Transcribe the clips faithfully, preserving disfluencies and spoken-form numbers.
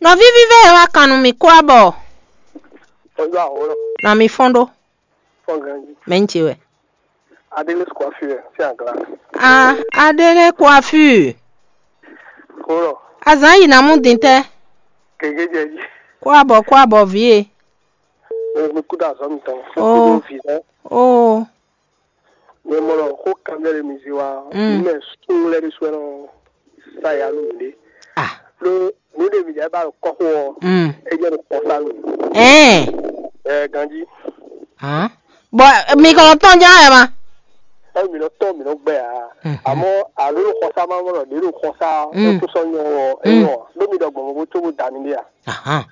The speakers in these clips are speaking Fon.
Nɔví vívɛ e wá kan nú mì kwábɔ. Ɔyɔ ahɔlɔ. Na mi fɔ́n ɖó. Fɔn ganji. Mɛ ń ce wɛ. Adele squafure si agla. Ah, Adele coiffure. Kúrò. Azǎn yi nǎ mú din tɛ́. Gěgé jɛ jí. Kwábɔ kwábɔ vǐ e. Mi kú dó azɔ̌ mitɔn. Ó. Kú dó vǐ lɛ́ɛ. Ó. Mi mɔ ɖɔ xó kanbyɔ́ ɖé mi zé wá. Mm. Mi mɛ súnnu lɛ́ɛ ɖésú wɛ nɔ sa ya nú mǐɖée. Ah. Ɖó nǔ ɖe mǐ jɛ ba ɖo kɔ́xo ɔ́, mm, é jɛ ɖo kpɔ́ sa nú mǐ. Ɛɛ. Ɛ ganjí. Hàn. Bɔ mi kɔn tɔn ján ɛ ma. Ɛ mi nɔ tɔn mi nɔ gbɛ a. Mhm. Àmọ́ àló ɖo xɔsá ma mɔ ɖɔ ɖě ɖo xɔsá. Mm. Ó tún sɔ nyɔ ɔ. Mm. Ɛ nyɔ. Ɖó mi ɖɔ gbɔn mo bó tó bó da mi ɖé a. Ahàn.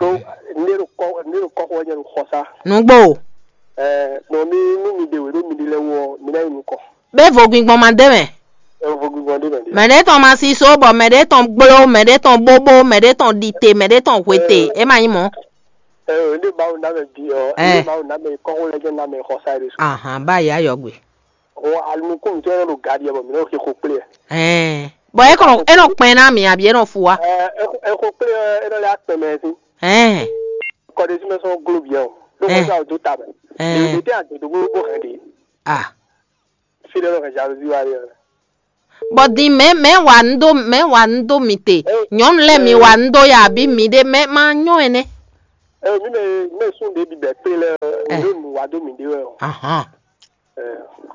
Ɖó nɖé ɖo kɔ nɖé ɖo kɔxo wɛ jɛ ɖo xɔsá. Nǔgbó. Ɛ, nɔ mi nú mi ɖe wě ɖó mi ɖi lɛ wɔ mi ná yi nukɔ. Bɛ vogbingbɔn ma dé mɛ. Ɛ, vogbingbɔn ɖé mɛ ɖé. Mɛ ɖé tɔn ma si so bɔ mɛ ɖé tɔn gbló, mɛ ɖé tɔn bóbó, mɛ ɖé tɔn ɖite, mɛ ɖé tɔn hwete. Ɛ. É ma nyí mɔ̌. Ɛ, nɖé Mawu ná mɛ bi ɔ, ɛ, nɖé Mawu ná mɛ kɔxo lɛ jɛ ná mɛ xɔsá ɖé so. Ahan, bá yá yɔgbe. Ɔ, alunukúntɔ́ e nɔ ɖo ga ɖiɛ bɔ mǐ nɔ xixo kplé ɛ. Ɛɛ, bɔ é kɔn é nɔ kpɛn ná mi abi é nɔ fu wa. Ɛ, é xo- é xo kplé ɛ, é nɔ lɛ akpɛn mɛ sí. Ɛɛ, Kɔɖésí mɛ sɔn glo biɛ o. Ɖó ɛ, xɔsá o dó ta mɛ. Ɛ. Ɖe ɖe tɛ adodo bó bó hɛn ɖe. A. Fi ɖe nɔ hɛn jalousie wa ɖe. Bɔ din mɛ mɛ wa nu do mɛ wa nu do mi te. Nyɔnu lɛ mi wa nu do ya abi mi ɖe mɛ ma nyɔ ɛnɛ. Ɛ, mi mɛ mi mɛ sún ɖe bibɛ kplé lɛ. Ɛ. Ɖo nu wa do mi ɖe wɛ o. Ahan. Ɛ,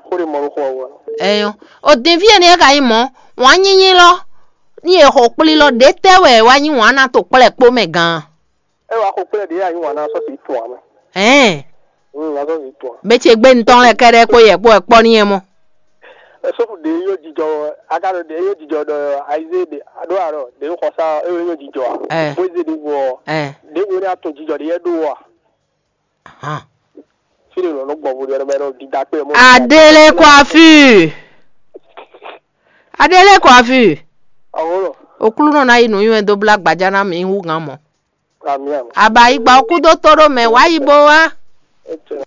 xó ɖé mɔ nú xó ɔ́ wá. Ɛyɔ. O din fí ɛnɛ ka nyí mɔ̌, wǎn nyínyí lɔ, ní e xo kplí lɔ ɖě tɛ́ wɛ wá nyí wǎn ná to kplɛ́ kpó mɛ gan? É wá xo kplɛ́ ɖě a nyí wǎn ná sɔ́ sí tun ǎ mɛ. Ɛn. Mm, ná sɔ́ sí tun ǎ. Bɛ ce gbé ntɔ́n lɛ kɛɖɛ kpó yɛ kpó wɛ kpɔ́ ní yɛ mɔ. Ɛ, sófù ɖě yó jijɔ, aga ɖo ɖě yó jijɔ ɖɔ ayizé ɖě ɖó àrɔ ɖě xɔ sá é yó jijɔ ǎ. Ɛ. Bó zé ɖě wɔ. Ɛ. Ɖě wɔ ní a tun jijɔ ɖě yɛ ɖó wɔ a. Ahan. Fí ɖé lɔ nɔ gbɔ vo ɖe mɛ ɖo dida kpe mɔ. Adele coiffure. Adele coiffure. Awolo. Oklunɔ na yi nǔnywɛ dó blá gbajá ná mǐ hú gán mɔ. Ami ami. Aba yi gba okú dó tó ɖó mɛ wá yi bó wá. Etsɛ.